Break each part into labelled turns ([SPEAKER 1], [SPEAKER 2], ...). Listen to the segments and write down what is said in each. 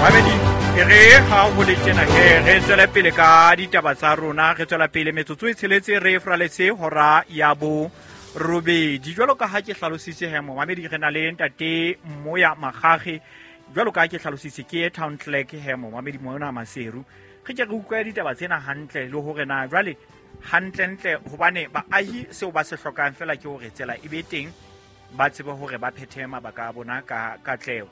[SPEAKER 1] Mamedi, e re ha ho le tjena he re tswele pele ka ditaba tsa rona, re tswela pele metsotso e tsheletse re fraletse hora ya bo robedi. Jwalo ka ha ke hlalositse he momamedi, re na le ntate Moya Magage. Jwalo ka ha ke hlalositse, ke town clerk he momamedi mona Maseru. Re ke re utlwe ditaba tsena hantle le hore na jwale hantlentle, hobane baahi seo ba se hlokang fela ke hore tsela e be teng, ba tsebe hore ba phethe mabaka a bona ka katleho.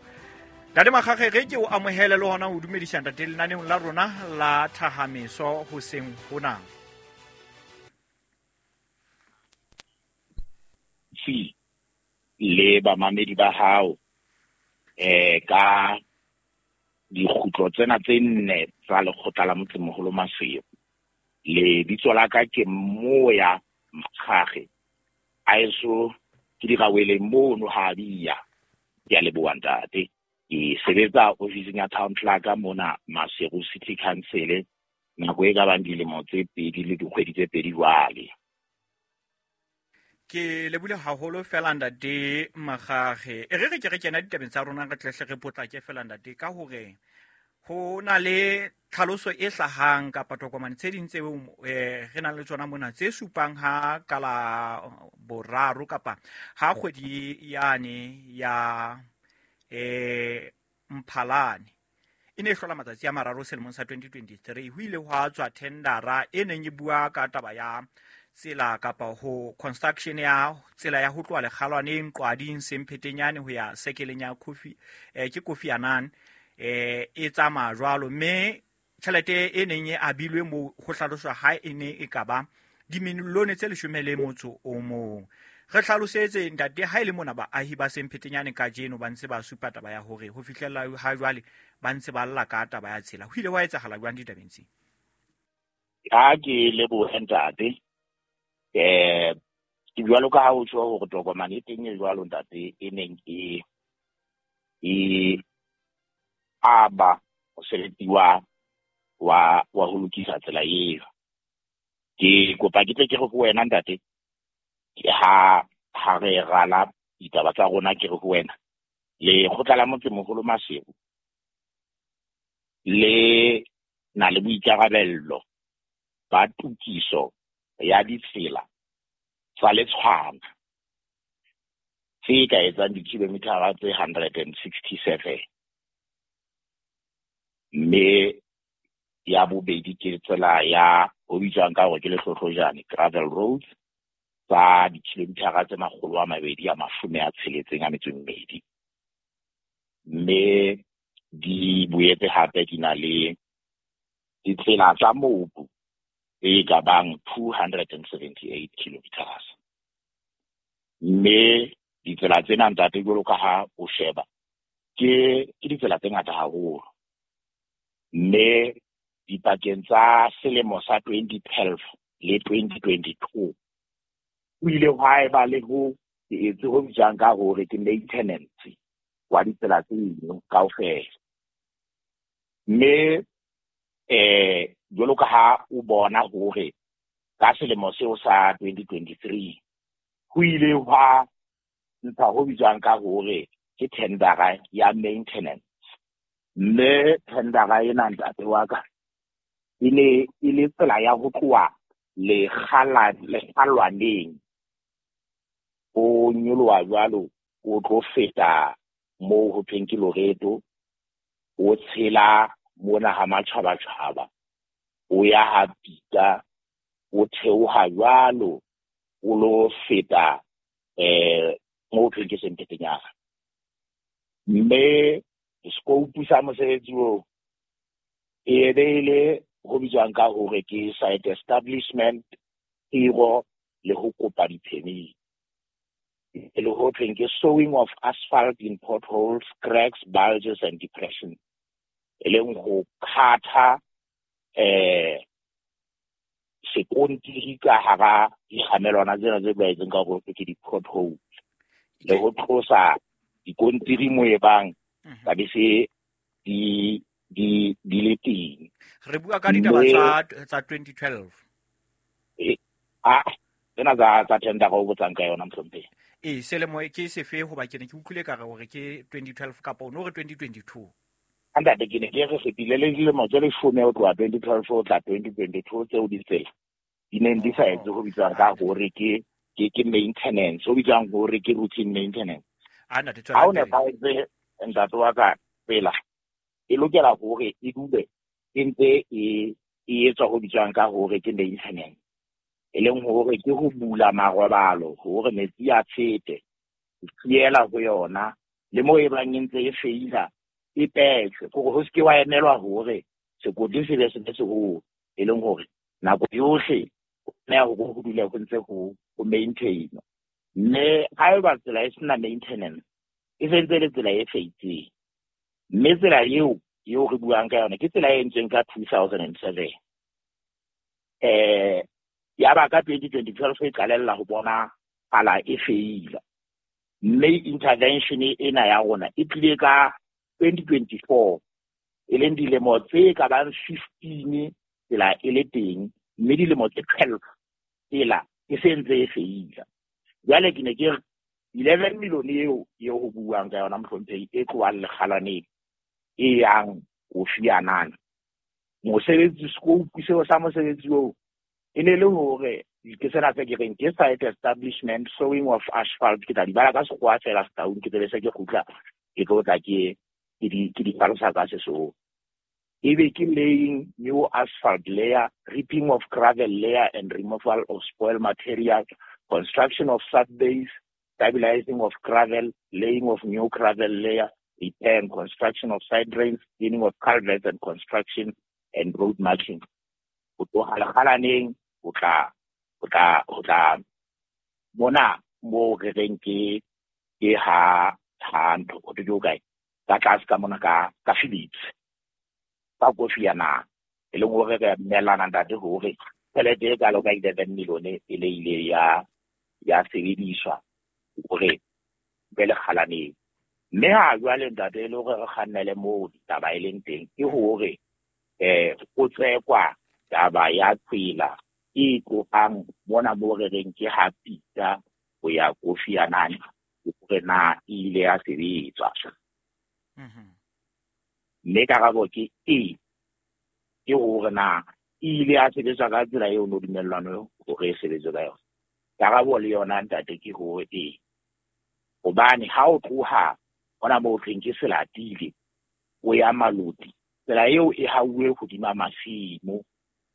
[SPEAKER 1] Ntate Magage, re ke o amohele le hona ho dumedisa ntate lenaneong la rona la Thahameso hoseng hona.
[SPEAKER 2] Si le bamamedi ba hao ka dikgutlo tsena tse nne tsa lekgotla la motsemoholo Maseru. Lebitso la ka ke Moya Magage, a eso ke diraweleng mono ha bia. Ke a leboha ntate. Ke sebetsa ofising ya town clerk mona Maseru City Council nako e ka bang dilemo tse 2 le dikgwedi tse 2 jwale.
[SPEAKER 1] Ke lebule haholo fela ntate Magage. E re re ke re kena ditabeng tsa rona, re tlehle re potlake fela ntate, ka hore ho na le tlhaloso e hlahang kapa tokomane tse ding tseo re nang le tsona mona tse supang ha ka la boraro kapa ha kgwedi yane ya Mphalane e ne e hlola matsatsi a mararo selemong sa 2023, ho ile hwa tswa tendera e neng e bua ka taba ya tsela kapa ho construction ya tsela ya ho tloha Lekgalwaneng Qwading Semphetenyane ho ya sekeleng ya Kofi, ke Kofi Annan, e tsamaya jwalo, mme tjhelete e neng e abilwe moo ho hlaloswa ha e ne e ka ba dimilione tse 11. Re hlalosetse ntate, ha e le mona baahi ba Semphetenyane kajeno ba ntse ba supa taba ya hore ho fihlella ha jwale ba ntse ba lla ka taba ya tsela. Ho ile hwa etsahala jwang ditabeng tsee?
[SPEAKER 2] Ha ke lebohe ntate. Ke jwalo ka ha o tjho hore tokomane e teng e jwalo ntate, e neng e aba mosebetsi wa ho lokisa tsela eo. Ke kopa ke tle ke re ho wena ntate, ke ha re rala ditaba tsa rona, ke re ho wena lekgotla la motsemoholo Maseru le na le boikarabello ba tokiso ya ditsela tsa letshwana tse ka etsang dikilomitara tse 167, mme ya bobedi ke tsela ya ho bitswang ka hore ke Lehlohlojane gravel roads tsa dikilomitara tse 262, mme di boetse hape di na le ditsela tsa mobu e ka bang 278 kilometers. Mme ditsela tsena ntate, jwalo ka ha o sheba, ke ditsela tse ngata haholo. Mme dipakeng tsa selemo sa 2012 le 2022 ho ile hwa eba le ho etse ho bitswang ka hore ke maintenance wa ditsela tseno kaofela. Mme jwalo ka ha o bona hore ka selemo seo sa 2023 ho ile hwa ntsha ho bitswang ka hore ke tendera ya maintenance. Mme tendera ena ntate wa ka e ne e le tsela ya ho tloha Lekgalwaneng o nyoloha jwalo o tlo feta moo ho thweng ke Loreto, o tshela mona ha Matjhabatjhaba, o ya ha Pita, o theoha jwalo o lo feta moo ho thweng ke Semphetenyana. Mme scope sa mosebetsi oo e be e le ho bitswang ka hore ke site establishment, tiro le ho kopa di-permit. E le ho thweng ke sowing of asphalt in potholes, cracks, bulges and depressions, e leng ho khatha sekontiri ka hara dikgamelwana tsena tse tlwaetseng ka hore ke di-potholes, le ho tlosa dikontiri mo e bang tsa be se di le teng.
[SPEAKER 1] Re bua ka ditaba tsa 2012.
[SPEAKER 2] Tsena tsa tendera o botsang ka yona mohlomphehi.
[SPEAKER 1] Selemo ke sefe hoba ke ne ke utlwile ka re hore ke 2012 kapa o no re 2022?
[SPEAKER 2] Ntate, ke ne ke re fetile le dilemo tse 10 ho tloha 2012 ho tla 2022 tseo ditsela di neng di sa etse ho bitswang ka hore ke maintenance, ho bitswang hore ke routine maintenance.
[SPEAKER 1] A ntate,
[SPEAKER 2] Ha o
[SPEAKER 1] tswela pele.
[SPEAKER 2] Nepahetse, ntate wa ka, tsela e lokela hore e dule e ntse e etswa ho bitswang ka hore ke maintenance, e leng hore ke ho bula marobalo hore metsi a fete, ho fiela ho yona, le moo e bang e ntse e feila e petjhwe, kore ho se ke wa emelwa hore sekoti se be se be seholo, e leng hore nako yohle ho tlameha hore ho dule ho ntse ho maintain. Mme haeba tsela e sena maintenance, e sentse e le tsela e feitseng. Mme tsela eo re buang ka yona ke tsela e entsweng ka 2007. Ya ba ka 2012 e qalella ho bona pala e feila. Mme intervention ena ya rona e tlile ka 2024, e leng dilemo tse ka bang 15 tsela e le teng, mme dilemo tse 12 tsela e se ntse e feila. Jwale ke ne ke re 11 million eo ho buang ka yona, mohlomphehi, e tlohang Lekgalaneng e yang Kofi Annan. Mosebetsi, scope seo sa mosebetsi oo e ne le hore ke sena se ke reng ke site establishment, sowing of asphalt. Ke tla di bala ka sekgowa fela Setaung, ke tsebe se ke kgutla ke tlo tla ke di hlalosa ka Sesotho. Ebe ke laying new asphalt layer, ripping of gravel layer and removal of spoil material, construction of subbase, stabilizing of gravel, laying of new gravel layer, repair and construction of side drains, cleaning of culverts and construction and road marking. Ho tloha Lekgalaneng ho tla mona mo re reng ke ha ntho ho thwe ke hokae, ka tlase ka mona ka Phillips, ka Kofi Annan, e leng hore re dumellana, ntate, hore tjhelete e kalo ka 11 million e le ile ya sebediswa hore be Lekgalaneng. Mme ha jwale, ntate, e le hore re kgannele moo ditaba e leng teng ke hore o tsekwa taba ya tsela e tlohang mona mo re reng ke ha Pita ho ya Kofi Annan, hore na e ile ya sebetswa. Mme karabo ke e, ke hore na e ile ya sebetswa ka tsela eo no dumellwane hore e sebetswe ka yona. Karabo le yona, ntate, ke hore ee, hobane ha o tloha hona moo thweng ke Selatile o ya Maloti, tsela eo e hauwe hodima masimo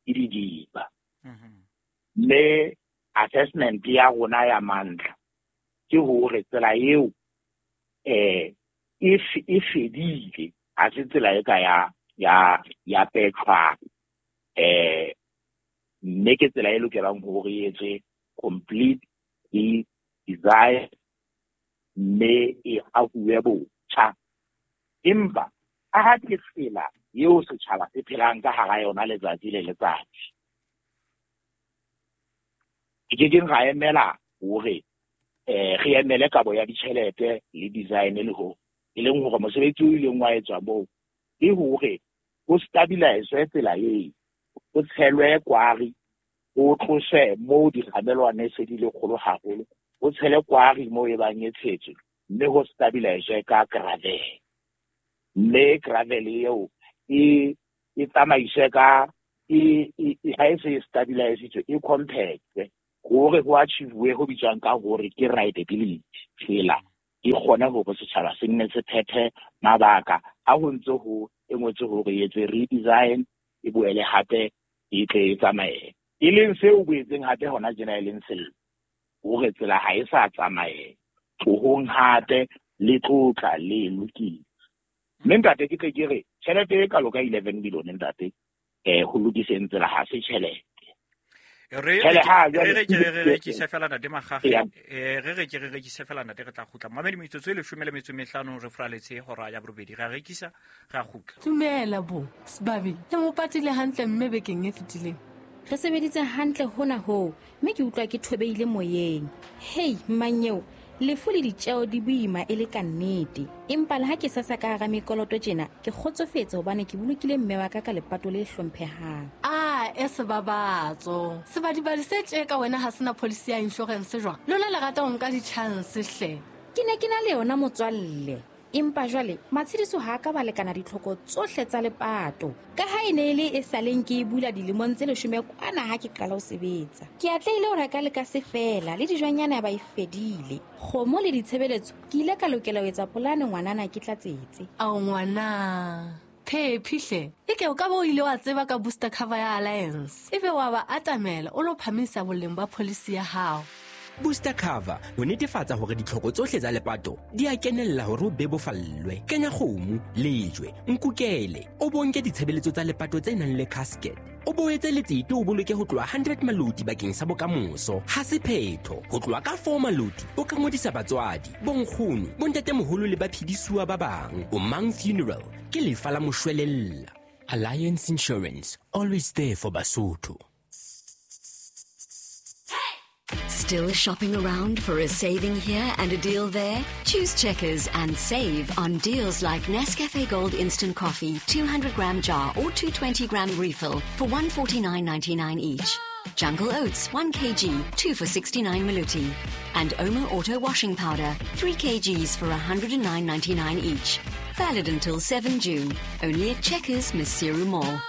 [SPEAKER 2] ke didiba. Mme assessment ya rona ya mantlha ke hore tsela eo e fedile, ha se tsela e ka ya petjhwang, mme ke tsela e lokelang hore e etswe complete design mme e ahuwe botjha. Empa a ha ke tsela eo setjhaba se phelang ka hara yona letsatsi le letsatsi, ke kekeng ra emela hore re emele kabo ya ditjhelete le design, le ho e leng hore mosebetsi o ileng wa etswa moo ke hore ho stabilize tsela eo, ho tshelwe kwari, ho tloswe moo dikgamelwane se di le kgolo haholo, ho tshele kwari moo e bang e tshetswe, mme ho stabilize ka gravel. Mme gravel eo e tsamaiswe ka e ha e se e stabilisitswe, e compactwe hore ho achieve ho bitswang ka hore ke rideability, tsela e kgone hore setjhaba se nne se phethe mabaka ha ho ntse ho e ngwetswe hore e etswe redesign, e boele hape e tle e tsamaye, e leng seo boetseng hape hona tjena e leng sello hore tsela ha e sa tsamaye tlohong hape le tlotla le lokile. Mme ntate, ke tle ke re tjhelete e kalo ka 11 billion, ntate, ho lokiseng tsela ha se tjhelete.
[SPEAKER 1] Re
[SPEAKER 2] Tjhele ha
[SPEAKER 1] re
[SPEAKER 2] jwale
[SPEAKER 1] re ke re rekise fela, ntate Makgakge.
[SPEAKER 2] Eya.
[SPEAKER 1] Re ke re rekise fela, ntate, re tla kgutla. Mamedi, metsotso e 15 re furaletse hora ya 8. Re a rekisa, re a kgutla.
[SPEAKER 3] Dumela bo sebabi, le mo patile hantle mme bekeng e fetileng?
[SPEAKER 4] Re sebeditse hantle hona hoo, mme ke utlwa ke thobeile moyeng. Hei mmanyeo, lefu le ditjeo di boima e le ka nnete, empa le ha ke sasa ka hara mekoloto tjena, ke kgotsofetse hobane ke bolokile mme wa ka ka lepato le hlomphehang.
[SPEAKER 3] A e sebabatso sebadibadi se tje ka wena ha sena policy ya insurance jwang? Lona le rata ho nka di-chance hle.
[SPEAKER 4] Ke ne ke na le yona, motswalle. Empa jwale matshediso ha a ka ba lekana ditlhoko tsohle tsa lepato. Ka ha e ne e le e saleng ke e bula dilemong tse 10 kwana ha ke qala ho sebetsa. Ke atlehile ho reka le ka se fela le dijwanyana ba e fedile. Kgomo le ditshebeletso ke ile ka lokela ho etsa polane ngwanana ke tlatsetse.
[SPEAKER 3] Ao ngwana. Phephihle, e ke o ka bo o ile wa tseba ka booster cover ya Alliance. Ebe wa ba atamela o lo phamisa boleng ba policy ya hao.
[SPEAKER 5] Booster cover ho netefatsa hore ditlhoko tsohle tsa lepato di a kenella hore o bebofallwe. Kenya kgomo, lejwe, nkukele, o bonke ditshebeletso tsa lepato tse nang le casket. O boetse letsete o boloke ho tloha 100 maloti bakeng sa bokamoso. Ha se phetho, ho tloha ka 4 maloti o ka ngodisa batswadi, bonkgono, bontatemoholo le baphedisuwa ba bang. O Mang Funeral ke lefa la moshwelella. Alliance Insurance, always there for Basotho.
[SPEAKER 6] Still shopping around for a saving here and a deal there? Choose Checkers and save on deals like Nescafe Gold Instant Coffee, 200 gram jar or 220 gram refill for 149.99 each. Jungle Oats, 1 kg, 2 for 69 maluti. And Omo Auto Washing Powder, 3 kgs for 109.99 each. Valid until 7 June. Only at Checkers, Maseru Mall.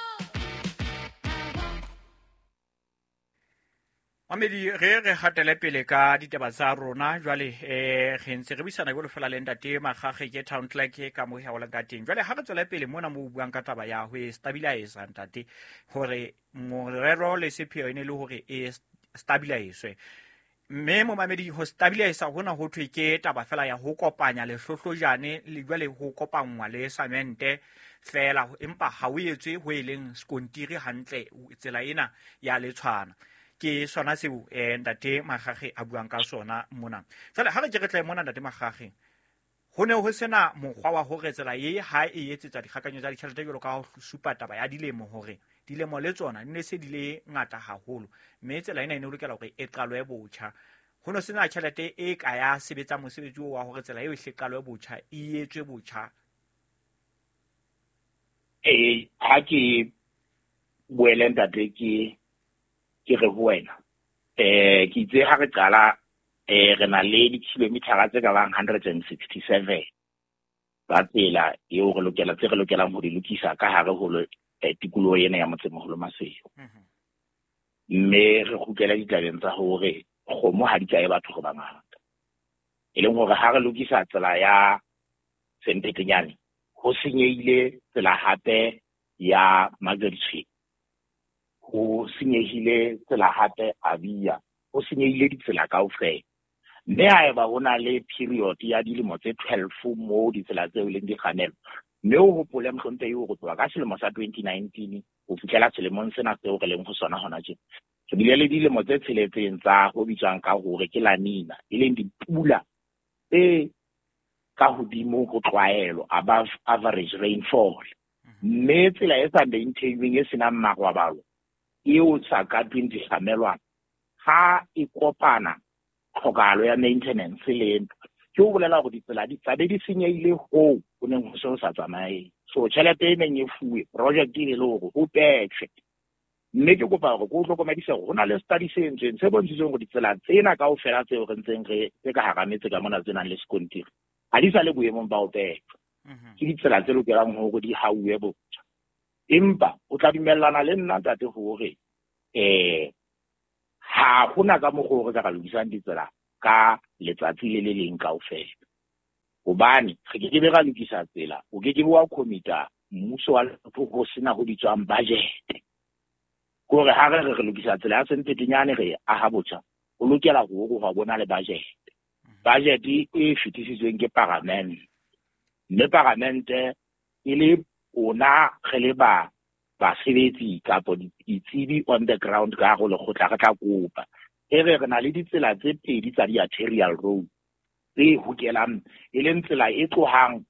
[SPEAKER 1] Mamedi re re hatele pele ka ditaba tsa rona jwale re ntse re buisana jwalo fela le ntate Makgakge ke town clerk ka mo haolang ka teng. Jwale ha re tswela pele mona mo buang ka taba ya ho stabilize ntate hore morero le sepheo ene le hore e stabilize. Mme momamedi ho stabilize hona ho thwe ke taba fela ya ho kopanya lehlohlojane le jwale ho kopanngwa le samente fela, empa ha o etswe ho eleng skontiri hantle tsela ena ya letshwana. Ke sona seo ntate Makgakge a buang ka sona mona. Jwale ha re ke re tle mona ntate Makgakge, ho ne ho sena mokgwa wa hore tsela e ha e etsetsa dikgakanyo tsa ditjhelete jwalo ka ho supa taba ya dilemo hore dilemo le tsona di ne se di le ngata haholo, mme tsela ena e ne lokela hore e qalwe botjha. Ho no sena tjhelete e ka ya sebetsa mosebetsi wa hore tsela eo e hle qalwe botjha, e etswe botjha.
[SPEAKER 2] Ha ke boele ntate ke re ho wena ke itse ha re qala re na le dikilometara tse ka bang 167 tsa tsela eo re lokela tse re lokelang ho di lokisa ka hare ho tikoloho ena ya Motsemoholo Maseru. Mme re kgutlela ditabeng tsa hore kgomo ha di kae batho go bangata, e leng hore ha re lokisa tsela ya Sempetenyane ho senyehile tsela hape ya Margaret, ho senyehile tsela hape Abia, ho senyehile ditsela kaofela. Mme haeba ho na le period ya dilemo tse 12 moo ditsela tseo leng di kganelo, mme o hopole mohlomphehi hore tloha ka selemo sa 2019 ho fihlela selemong sena seo re leng ho sona hona tjena, re bile le dilemo tse tsheletseng tsa ho bitswang ka hore ke La Nina, e leng dipula tse ka hodimo ho tlwaelo, above average rainfall. Mme tsela e sa maintainweng e senang marwabalo eo sa ka tweng dikgamelwana ha e kopana tlhokahalo ya maintenance le ntho, ke ho bolela hore ditsela di tlabe di senyehile hoo ho neng ho se ho sa tsamaye. So tjhelete e neng e fuwe project e le hore ho petjhe. Mme ke kopa hore ke o hlokomedise hore ho na le study se entsweng se bontshitseng hore ditsela tsena kaofela tseo re ntseng re tse ka hara metse ka mona tse nang le sekontiri ha di sa le boemong ba ho petjha. Ke ditsela tse lokelang hore di hauwe botjha. Empa o tla dumellana le nna ntate hore ha hona ka mokgwa o re ka lokisang ditsela ka letsatsi le le leng kaofela, hobane re ke ke be ra lokisa tsela, o ke ke be wa commita mmuso wa Lesotho ho sena ho bitswang budget. Kore ha re re lokisa tsela ya Sempetenyane re aha botjha, o lokela hore ho bona le budget. Budget e fetisitsweng ke paramente, mme paramente e le ona re le ba basebetsi kapa ditsebi on the ground ka go lekgotla re tla kopa e re re na le ditsela tse pedi tsa di-arterial road tse hokelang, e leng tsela e tlohang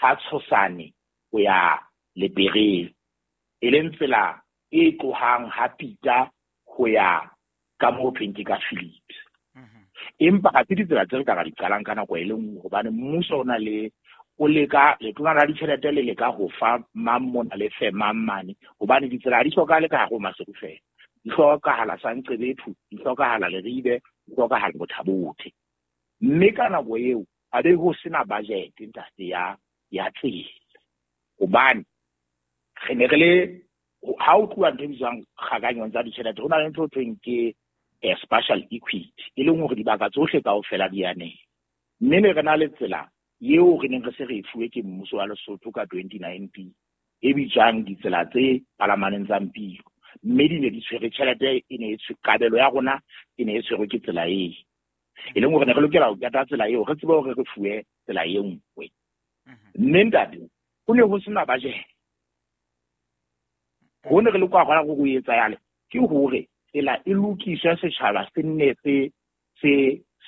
[SPEAKER 2] ha Tshosane ho ya Lepereng, e leng tsela e tlohang ha Pita ho ya ka moo thweng ke ka Phillips. Empa ha se ditsela tse re ka ra di qalang ka nako e le nngwe, hobane mmuso o na le o leka letona la ditjhelete le leka ho fa mang mona le fe mang mane, hobane ditsela ha di hlokahale ka hare ho Maseru fela, di hlokahala Sanqebethu, di hlokahala Leribe, di hlokahala Bothabothe. Mme ka nako eo A be ho sena budget ntate ya tsela. Hobane re ne re le ha o tluwa ntho e bitswang kgakanyong tsa ditjhelete, ho na le ntho e thweng ke spatial equity, e leng hore dibaka tsohle kaofela di aneha. Mme ne re na le tsela eo re neng re se re e fuwe ke mmuso wa Lesotho ka 2019 e bitswang ditsela tse palamaneng tsa Mpilo. Mme di ne di tshwere tjhelete e ne e kabelo ya rona e ne e tshwerwe ke tsela eo. E leng hore ne re lokela ho keta tsela eo, re tsebe hore re fuwe tsela e nngwe. Mme ntate, ho ne ho sena budget. Ho ne re le kwa gona go etsa yale ke hore tsela e lokiswe setjhaba se nne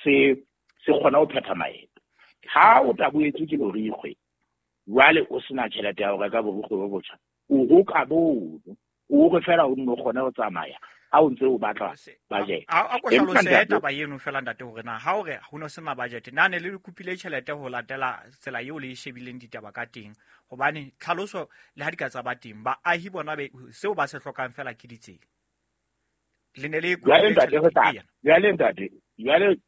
[SPEAKER 2] se kgona ho phetha maeto. Ha o taboetswe ke borikgwe, jwale o sena tjhelete ya ho reka borikgwe bo botjha, o roka bono, o re fela o nno kgone ho tsamaya ha o ntse o batla budget.
[SPEAKER 1] A ko hlalose taba eno fela ntate hore na ha o re ho no sena budget, na ne le kopile tjhelete ho latela tsela eo le e shebileng ditaba ka teng? Hobane tlhaloso le ha di ka tsa ba teng, baahi bona be seo ba se hlokang fela ke ditsela. Le ne le
[SPEAKER 2] kopile tjhelete. Jwale ntate, jwale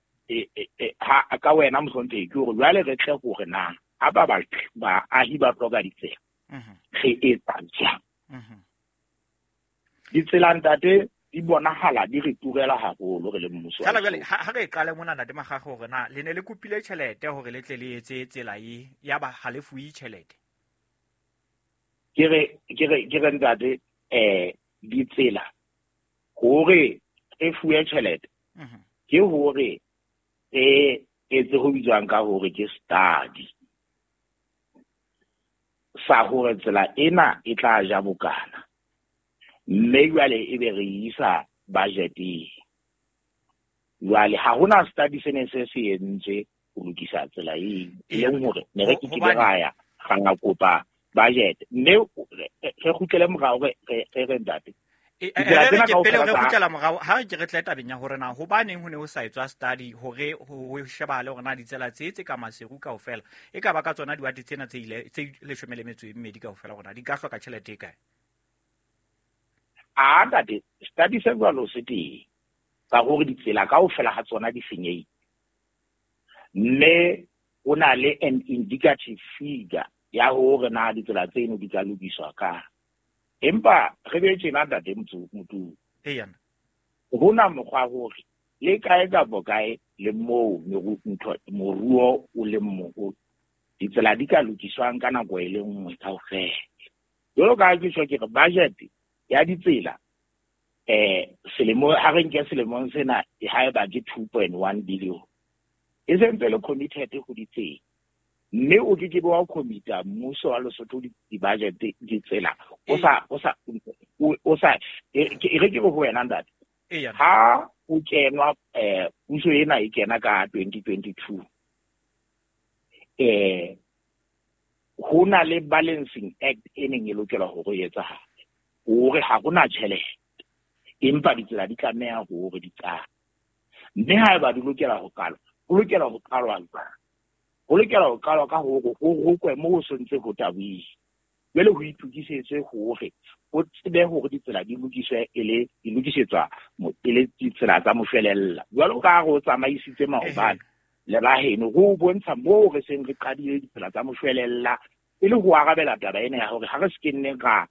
[SPEAKER 2] ha ka wena mohlomphehi ke hore jwale re tle hore na ha ba baahi ba hloka ditsela, re etsa jwang? Ditsela ntate di bonahala di re turela haholo re le mmuso.
[SPEAKER 1] Jwale jwale ha re qale mona ntate Makgakge hore na le ne le kopile tjhelete hore le tle le etse tsela e ya ba ha le fuwe tjhelete.
[SPEAKER 2] Ke re ntate ditsela hore re fuwe tjhelete ke hore re etse ho bitswang ka hore ke study sa hore tsela ena e tla ja bokana. Mme jwale e be re isa budgeteng. Jwale ha hona study se ne se se entswe ho lokisa tsela eo, e leng hore ne re ke ke ra ya ra kopa budget. Mme re kgutlele morao re re ntate.
[SPEAKER 1] Pele re kgutlela morao ha ke re tle tabeng ya hore na hobaneng ho ne ho sa etswa study hore ho shebale hore na ditsela tse ka Maseru kaofela e ka ba ka tsona diwate tsena tse ile tse 12 kaofela hore na di ka hloka tjhelete e kae?
[SPEAKER 2] A ntate, study se jwalo se teng ka hore ditsela kaofela ha tsona di senyehile. Mme o na le an indicative figure ya hore na ditsela tseno di ka lokiswa ka. Empa re be tjena ntate Motu.
[SPEAKER 1] Eya.
[SPEAKER 2] Hona mokgwa hore le kae kapa kae le moo moruo o leng moholo, ditsela di ka lokiswang ka nako e le nngwe kaofela. Jwalo ka ha ke tjho ke re budget ya ditsela selemo ha re nke selemong sena haeba ke 2.1 billion e sentse le committed ho ditsela. Mme o ke ke be wa commita mmuso wa Lesotho di-budget ditsela o sa e re ke ho wena ntate. Ha o kenwa puso ena e kena ka 2022 ho na le Balancing Act e neng e lokela hore e etsahale hore ha hona tjhelete empa ditsela di tlameha hore di qale. Mme haeba di lokela ho qalwa, ho lokela ho qalwa jwang? Ho lokela ho qalwa ka hore ho rokwe moo ho sentse ho tabohile. Jwale ho itokisetswe hore o tsebe hore ditsela di lokiswe e le di lokisetswa e le ditsela tsa moshwelella. Jwalo ka ha re o tsamaisitse maobane le ba heno ho bontsha moo re seng re qadile ditsela tsa moshwelella e le ho arabela taba ena ya hore ha re se ke nne ra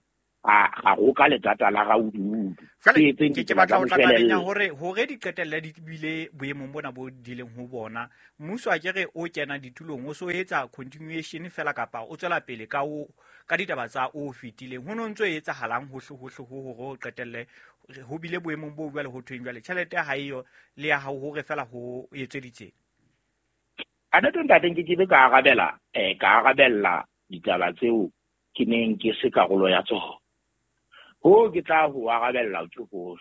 [SPEAKER 2] ga roka letata la raududu.
[SPEAKER 1] Ke batla ho tla tabeng ya hore di qetelle di bile boemong bona bo dileng ho bona. Mmuso a ke re o kena ditulong o so etsa continuation fela kapa o tswela pele ka ka ditaba tsa o fetileng. Ho no ntso e etsahalang hohle hohle ho hore o qetelle ho bile boemong bo jwale ho thweng jwale tjhelete ha eyo le ya hao hore fela ho etswe ditsela.
[SPEAKER 2] A ntate ntate ke be ka arabela ka arabella ditaba tseo ke neng ke se karolo ya tsona. Ho ke tla ho arabella ke hore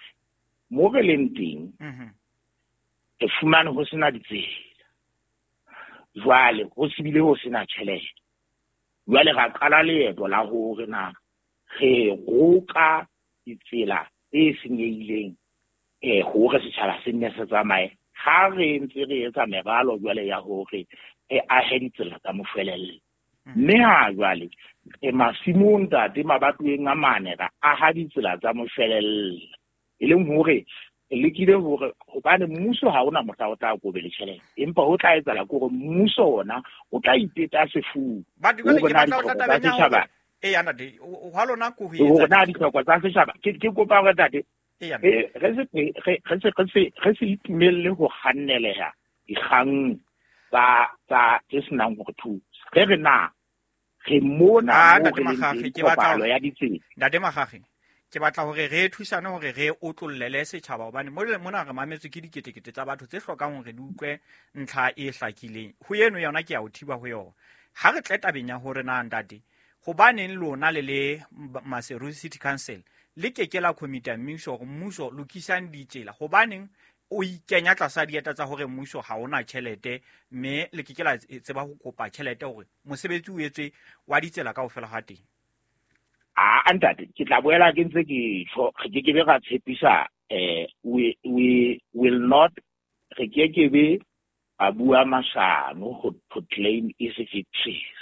[SPEAKER 2] mo re leng teng re fumane ho sena ditsela. Jwale ho se bile ho sena tjhelete. Jwale ra qala leeto la hore na re roka ditsela tse senyehileng hore setjhaba se nne se tsamaye. Ha re ntse re etsa meralo jwale ya hore re ahe ditsela tsa moshwelella. Mme ha jwale e masimong ntate mabatoweng a mane ra aha ditsela tsa moshwelella, e leng hore Re lekile hore hobane mmuso ha ona mohla o tla kobele tjhelete, empa ho tla etsahala ke hore mmuso ona o tla ipeta sefuba.
[SPEAKER 1] But jwale ke batla ho tla tabeng ya hore eya ntate, hwa lona ko ho etsa
[SPEAKER 2] hore na ditlhoko tsa setjhaba. Ke kopa hore ntate re se itumelle ho kganneleha dikgang tsa tse senang hore thusa. Re re na re mona mo re leng teng kopano ya ditsela.
[SPEAKER 1] Ntate Makgakge, ke batla hore re thusane hore re otlollele setjhaba, hobane mona re mametswe ke diketekete tsa batho tse hlokang hore di utlwe ntlha e hlakileng. Ho eno yona ke ya ho thiba ho yona. Ha re tle tabeng ya hore na ntate, hobaneng lona le le Maseru City Council le ke ke la commit-a mmuso hore mmuso lokisang ditsela, hobaneng o ikenya tlasa dieta tsa hore mmuso ha ona tjhelete, mme le ke ke la tseba ho kopa tjhelete hore mosebetsi o etswe wa ditsela kaofela ha teng?
[SPEAKER 2] A ntate, ke tla boela ke ntse ke tjho, re ke ke be ra tshepisa, we will not, re ke ke be a bua mashano ho claim easy victories.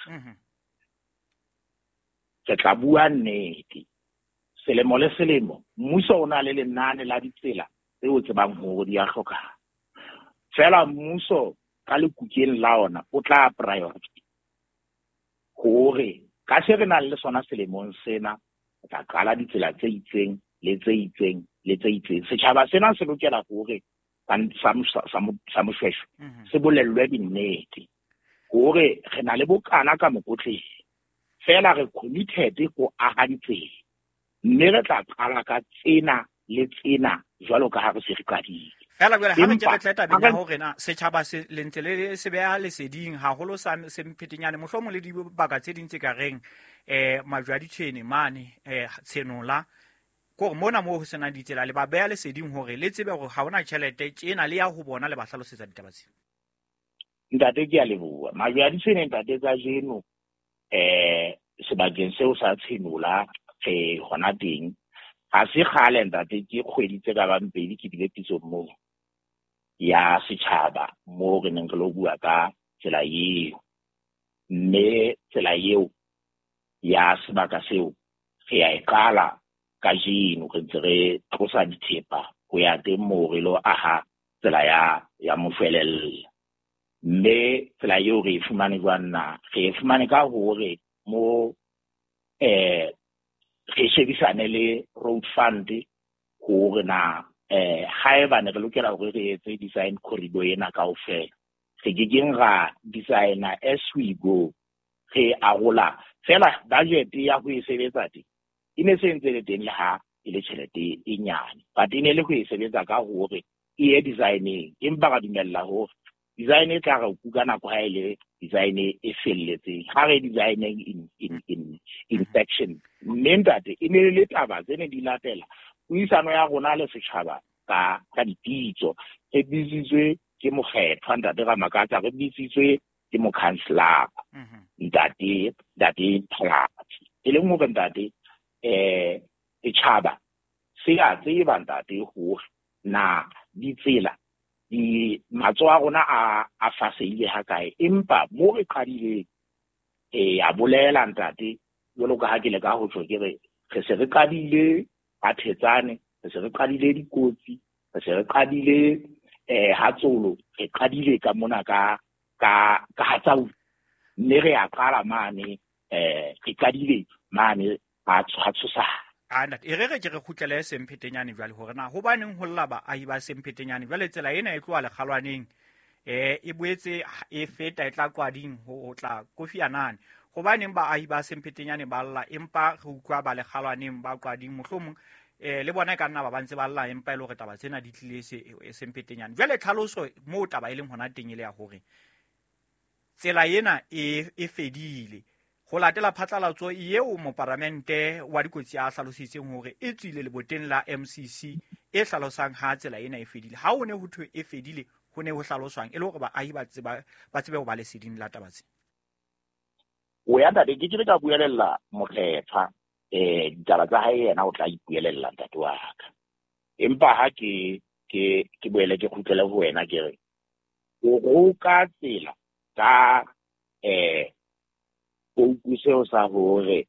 [SPEAKER 2] Re tla bua nnete. Selemo le selemo mmuso o na le lenane la ditsela tse o tsebang hore di a hlokahala. Feela mmuso ka lekukeng la ona o tla priority hore ka se re nang le sona selemong sena, re tla qala ditsela tse itseng le tse itseng le tse itseng. Setjhaba sena se lokela hore sa Moshweshwe se bolellwe dinnete hore re na le bokana ka mokotleng, feela re committed ho aha ditsela, mme re tla qala ka tsena le tsena jwalo ka ha re se re qadile.
[SPEAKER 1] Feela jwale ha re ke re tle tabeng ya hore na setjhaba se le ntse le se beha leseding haholo sa Semphetenyane, mohlomong le dibaka tse ding tse ka reng majwe a ditjhene mane, Tshenola, ke hore mona moo ho senang ditsela le ba beha leseding hore le tsebe hore ha hona tjhelete tjena le ya ho bona le ba hlalosetsa ditaba tsena.
[SPEAKER 2] Ntate, ke a leboha. Majwe a ditjhene ntate kajeno sebakeng seo sa Tshenola re hona teng. Ha se kgale ntate, ke kgwedi tse ka bang pedi ke bile pitsong moo ya setjhaba moo re neng re lo bua ka tsela eo, mme tsela eo ya sebaka seo re ya e qala kajeno, re ntse re tlosa dithepa ho ya teng moo re lo aha tsela ya moshwelella. Mme tsela eo re e fumane jwang na? Re e fumane ka hore mo re shebisane le road fund hore na haeba ne re lokela hore re etse design corridor ena kaofela, re ke keng ra designer as we go, re arola fela budget ya ho e sebetsa teng e ne se ntse le teng le ha e le tjhelete e nyane, but e ne le ho e sebetsa ka hore e ye designing, empa ra dumella hore design e tla re kuka nako ha e le design e felletseng, ha re designing in section. Mme ntate, e ne le taba tse ne di latela puisano ya rona le setjhaba ka dipitso. Re bitsitswe ke mokgethwa ntate Ramakatsa, re bitsitswe ke mokhanselara ntate Phalatsi, e leng hore ntate setjhaba se a tseba ntate hore na ditsela di matsoho a rona a fasehile hakae, empa mo re qadileng a bolela ntate jwalo ka ha ke le ka ho tjho, ke re re se re qadile ka Thetsane, re se re qadile dikotsi, re se re qadile Hatsolo, re qadile ka mona ka Hatsau, mme re a qala mane, re qadile mane ha tshosa.
[SPEAKER 1] E re ke re kgutlele Semphetenyane jwale hore na hobaneng ho lla baahi ba Semphetenyane jwale tsela ena e tloha lekgalwaneng e boetse e feta e tla Qwading ho tla Kofi Annan. Hobaneng baahi ba Semphetenyane ba lla empa re utlwa ba lekgalwaneng ba Qwading mohlomong le bona e ka nna ba ba ntse ba lla empa e le hore taba tsena di tlile Semphetenyane. Jwale tlhaloso moo taba e leng hona teng e le ya hore tsela ena e fedile ho latela phatlalatso eo moparamente wa dikotsi a hlalositseng hore e tswile leboteng la MCC e hlalosang ha tsela ena e fedile. Ha ho ne ho thwe e fedile, ho ne ho hlaloswang e le hore baahi ba tsebe ho ba leseding la taba tsena.
[SPEAKER 2] O ya ntate, ke kile ka buelella mokgethwa ditaba tsa hae, yena o tla ipuelella ntate wa ka. Empa ha ke boele ke kgutlele ho wena, ke re o roka tsela ka pouku seo sa hore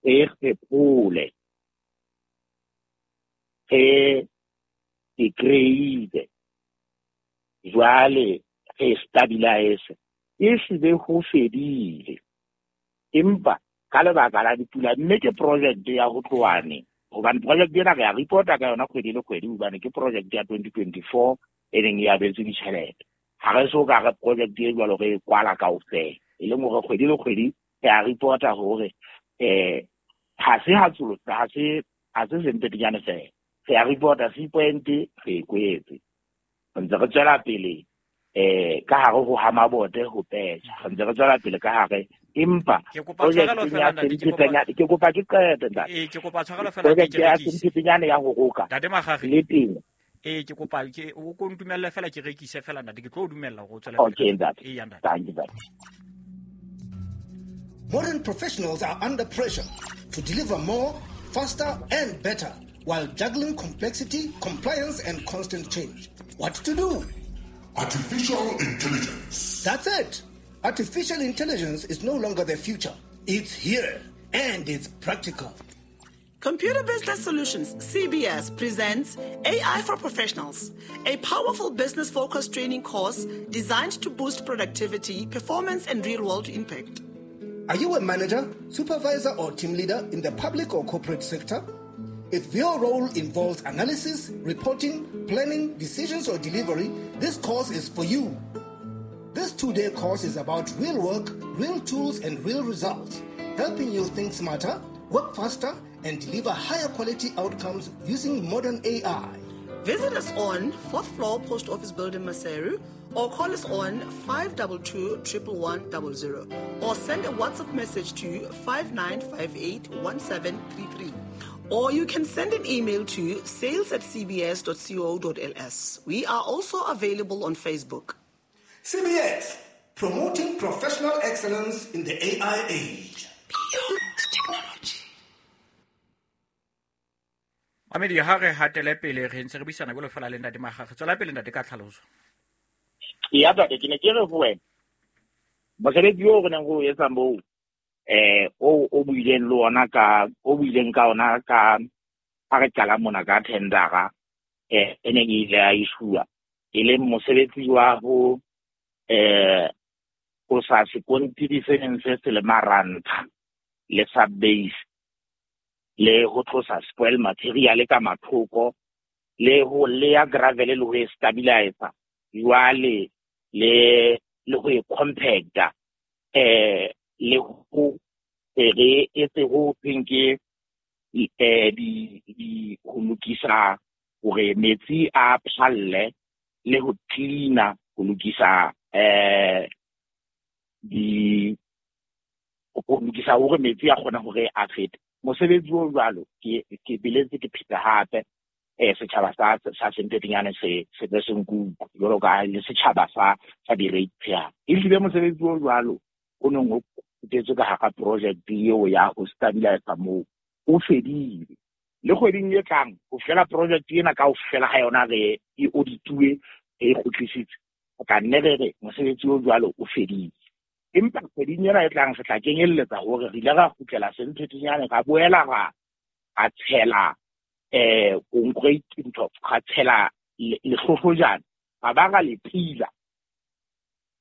[SPEAKER 2] re kgephole, re e kreile jwale re stabilize e se ho fedile empa ka lebaka la dipula mme ke project ya ho tloane hobane project ena re a reporta ka yona kgwedi le kgwedi hobane ke project ya 2024 e leng ya abetswe ditjhelete. Ha re so ka re project e jwalo re e kwala kaofela e leng hore kgwedi le kgwedi re a reporta hore ha se ha tsolo ha se Semphetinyane fela re a reporta C point re e kwetse ntse re tswela pele ka hare ho hamabote ho petjha re ntse re tswela pele ka hare empa
[SPEAKER 1] ke kopa tshwarelo fela ntate
[SPEAKER 2] ke kopa ke qete ntate
[SPEAKER 1] ke kopa tshwarelo fela ke
[SPEAKER 2] ya Semphetinyane ya ho roka
[SPEAKER 1] ntate Magage
[SPEAKER 2] le teng
[SPEAKER 1] ke kopa ke o ko ntumelle fela ke rekise fela ntate ke tlo o dumella hore o tswele pele.
[SPEAKER 2] Okay ntate.
[SPEAKER 1] Eya ntate.
[SPEAKER 2] Thank you ntate.
[SPEAKER 7] Modern professionals are under pressure to deliver more, faster and better while juggling complexity, compliance and constant change. What to do?
[SPEAKER 8] Artificial intelligence.
[SPEAKER 7] That's it. Artificial intelligence is no longer the future. It's here and it's practical.
[SPEAKER 9] Computer Business Solutions, CBS, presents AI for Professionals, a powerful business-focused training course designed to boost productivity, performance, and real-world impact.
[SPEAKER 7] Are you a manager, supervisor, or team leader in the public or corporate sector? If your role involves analysis, reporting, planning, decisions, or delivery, this course is for you. This 2-day course is about real work, real tools, and real results, helping you think smarter, work faster, and deliver higher quality outcomes using modern AI.
[SPEAKER 9] Visit us on 4th floor Post Office Building, Maseru, or call us on 522 11100 or send a WhatsApp message to 5958 1733. Or you can send an email to sales@cbs.co.ls. We are also available on Facebook.
[SPEAKER 7] CBS, promoting professional excellence in the AI age.
[SPEAKER 9] Beyond technology.
[SPEAKER 1] Mamedi ha re hatele pele re ntse re buisana jwalo fela le ntate Magage. Tswela pele ntate ka tlhaloso.
[SPEAKER 2] Ya ntate ke ne ke re ho wena mosebetsi oo re neng re o etsa moo o buileng le ona ka o buileng ka ona ka ha re qala mona ka tendera e neng e ile ya issuwa e leng mosebetsi wa ho ho sa sekontiri se neng se se le marantha le sub-base le ho tlosa spoil material ka mathoko le ho leya gravel le ho e stabilizer jwale le ho e compacta le ho re etse ho thweng ke di ho lokisa hore metsi a phalle le ho cleaner ho lokisa di ho lokisa hore metsi a kgona hore a fete. Mosebetsi o jwalo ke beletse ke pheta hape setjhaba sa Semphetinyane se se be se nkuku jwalo ka le setjhaba sa di-ratepayer. Ehlile mosebetsi o jwalo o neng o kgutetse ka hara project eo ya ho stabilize moo o fedile. Le kgweding e tlang ho fela project ena kaofela ha yona re e audituwe e kgutlisitse ka nne re re mosebetsi o jwalo o fedile. Empa kgweding ena e tlang re tla kenyelletsa hore re ile ra kgutlela Semphetinyane ra boela ra tshela concrete ntho ra tshela lehlohlojane ra ba ra le pila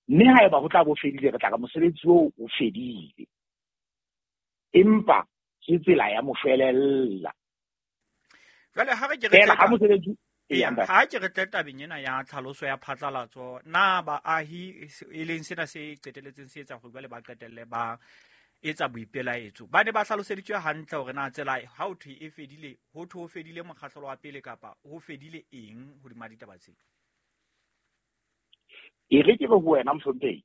[SPEAKER 2] mme haeba ho tla bo fedile re tla ka mosebetsi oo o fedile empa ke tsela ya mofelella.
[SPEAKER 1] Jwale ha re ke re
[SPEAKER 2] ha mosebetsi
[SPEAKER 1] ha ke re tle tabeng ena ya tlhaloso ya phatlalatso na baahi e leng sena se qeteletseng se etsa hore jwale ba qetelle ba etsa boipelaetso ba ne ba hlaloseditswe hantle hore na tsela ha ho thwe e fedile ho thwe ho fedile mokgahlelo wa pele kapa ho fedile eng hodima ditaba tse.
[SPEAKER 2] E re ke re ho wena mohlomphehi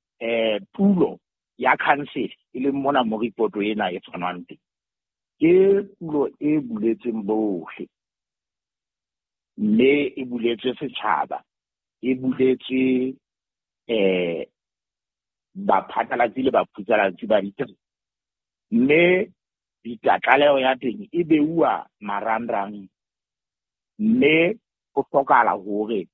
[SPEAKER 2] pulo ya council e leng mona mo report ena e tshwanang teng ke pulo e buletseng bohle mme e buletswe setjhaba e buletswe baphatlalatsi le baphutsalatsi ba ditaba mme tlaleho ya teng e beuwa marangrang mme ho hlokahala hore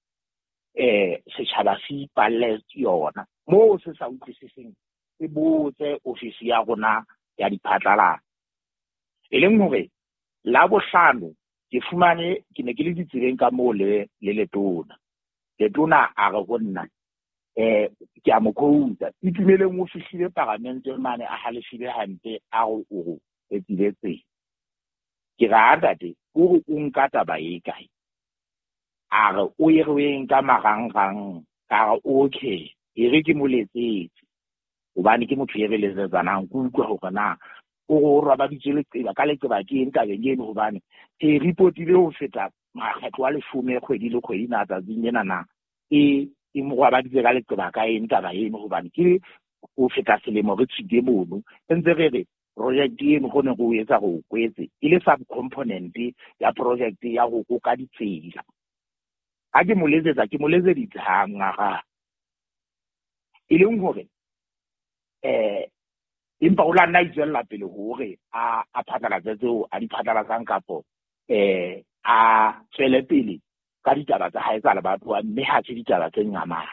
[SPEAKER 2] setjhaba se ipalle yona moo se sa utlwisiseng se botse ofisi ya rona ya diphatlalatso e leng hore la bohlano Ke fumane ke ne ke le ditseleng ka moo le letona. Letona a re ho nna ke a mo quote Itumeleng o fihlile paramente mane a halefile hampe a re o etsile tsela. Ke ra ntate o re o nka taba e kae? A re o e re o e nka marangrang. Ka re okay, e re ke mo letsetse hobane ke motho e re letsetsanang, ke utlwa hore na o re o robaditswe leqeba ka leqeba ke eng tabeng eno, hobane e reportile ho feta makgetlo a 10 kgwedi le kgwedi na tsatsing lena na e mo robaditse ka leqeba ka eng taba eno, hobane ke ho feta selemo re tshwile mono ntse re re project eno go ne go etsa go kwetse e le subcomponent ya project ya go koka ditsela. Ha ke mo letsetsa ke mo letseditse hang aga e leng hore empa o la nna itswella pele hore a phatlalatse tseo a di phatlalatsang kapo a tswele pele ka ditaba tsa hae tsa lebatowa, mme ha se ditaba tse ngamang.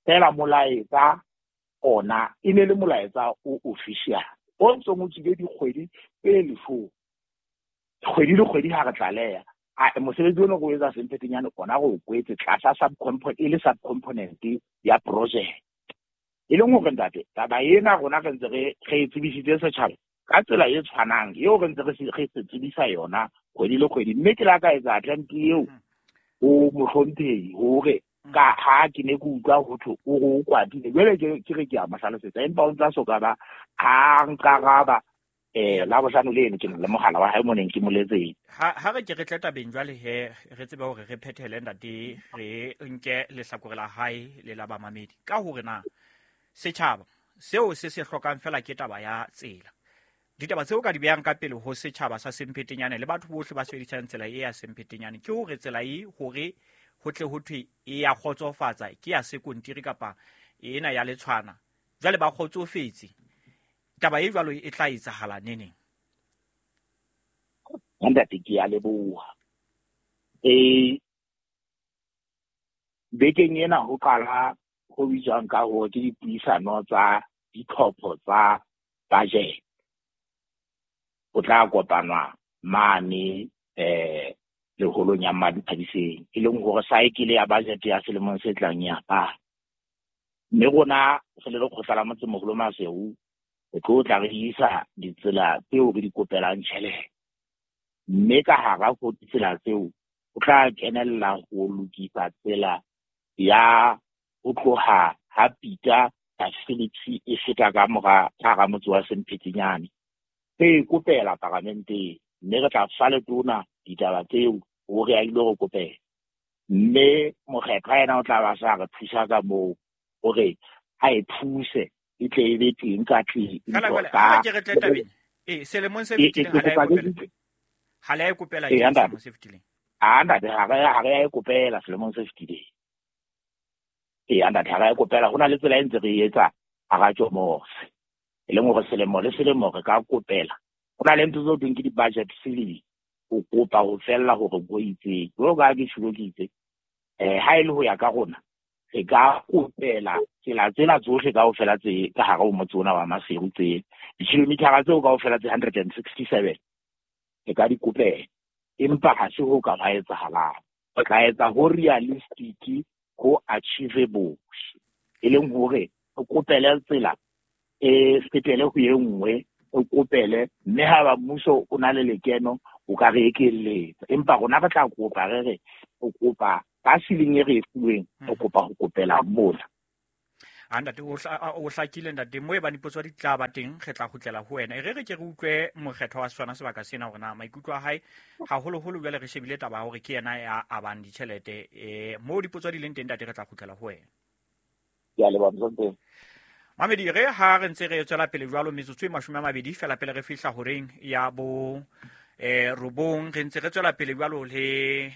[SPEAKER 2] Fela molaetsa ona e ne le molaetsa o official o ntsong o tswile dikgwedi tse 10 kgwedi le kgwedi ha re tlaleha mosebetsi ono go etsa Semphetenyane ona go kwetse tlasa subcomponent e le subcomponent ya project. E leng hore ntate taba ena rona re ntse re e tsebisitse setjhaba ka tsela e tshwanang eo re ntse re se tsebisa yona kgwedi le kgwedi, mme ke la ka etsa attempt eo ho mohlomphehi hore ka ha ke ne ke utlwa ho thwe o re o kwatile, jwale ke re ke a mo hlalosetsa, empa o ntsa soka ba ha nkaraba la bohlano le eno ke le mogala wa hae mo neng ke mo letseng.
[SPEAKER 1] Ha re ke re tle tabeng jwale he re tsebe hore re phethele ntate, re nke lehlakore la hae le la bamamedi ka hore na setjhaba seo se se hlokang fela ke taba ya tsela. Ditaba tseo ka di behang ka pele ho setjhaba sa Semphetenyane le batho bohle ba sebedisang tsela e ya Semphetenyane ke hore tsela e hore ho tle ho thwe e ya kgotsofatsa ke ya sekontiri kapa ena ya letshwana, jwale ba kgotsofetse. Taba e jwalo e tla etsahala neneng?
[SPEAKER 2] Ntate ke a leboha. Bekeng ena ho qala ho bitswang ka hore ke dipuisano tsa ditlhopho tsa budget. Ho tla kopanwa mane leholong ya Madithabiseng, e leng hore saekele ya budget ya selemong se tlang ya ba. Mme rona re le lekgotla la motsemoholo Maseru re tlo tla re isa ditsela tseo re di kopelang tjhelete, mme ka hara ho ditsela tseo o tla kenella ho lokisa tsela ya ho tloha ha Pita ka Phillips e feta ka mora hara motse wa Semphetenyane. Re kopela paramenteng, mme re tla fa letona ditaba tseo hore a ile re kopela, mme mokgethwa yena o tla ba sa re thusa ka moo hore a e thuse e tle e be teng ka tleng.
[SPEAKER 1] Ha ke re tle tabeng selemong se fetileng ha le e kopela ke selemong se fetileng.
[SPEAKER 2] A ntate ha re ya e kopela selemong se fetileng. Ntate ha re e kopela, ho na le tsela e ntse re etsa hara Tjomose, e leng hore selemo le selemo re ka kopela. Ho na le ntho tseo teng ke di-budget ceiling, o kopa ho fella hore bo itseng jwalo ka ha ke tjholo ke itse ha e le ho ya ka rona re ka kopela tsela tsena tsohle kaofela tse ka hare ho motse ona wa Maseru, tse di-kilometer tseo kaofela tse 167 re ka di kopela, empa ha se ho ka ba etsahalang. Re tla etsa ho realistic, ho achievable, e leng hore re kopele tsela e fetele ho e nngwe, re kopele, mme ha ba mmuso o na le lekeno o ka re ekeletsa, empa rona re tla kopa re re o kopa ka ceiling e re e fuweng, re kopa ho kopela mona.
[SPEAKER 1] Ntate o hlakile ntate, mo e bane dipotso di tla ba teng re tla kgutlela ho wena. E re re ke re utlwe mokgethwa wa sona sebaka sena hore na maikutlo a hae haholoholo jwale re shebile taba ya hore ke yena ya abang ditjhelete. Mo dipotso di leng teng ntate re tla kgutlela ho wena.
[SPEAKER 2] Ke a leboha mohlomphehhi.
[SPEAKER 1] Mamedi, re ha re ntse re tswela pele jwalo metsotso e 20 fela pele re fihla horeng ya bo 9, re ntse re tswela pele jwalo le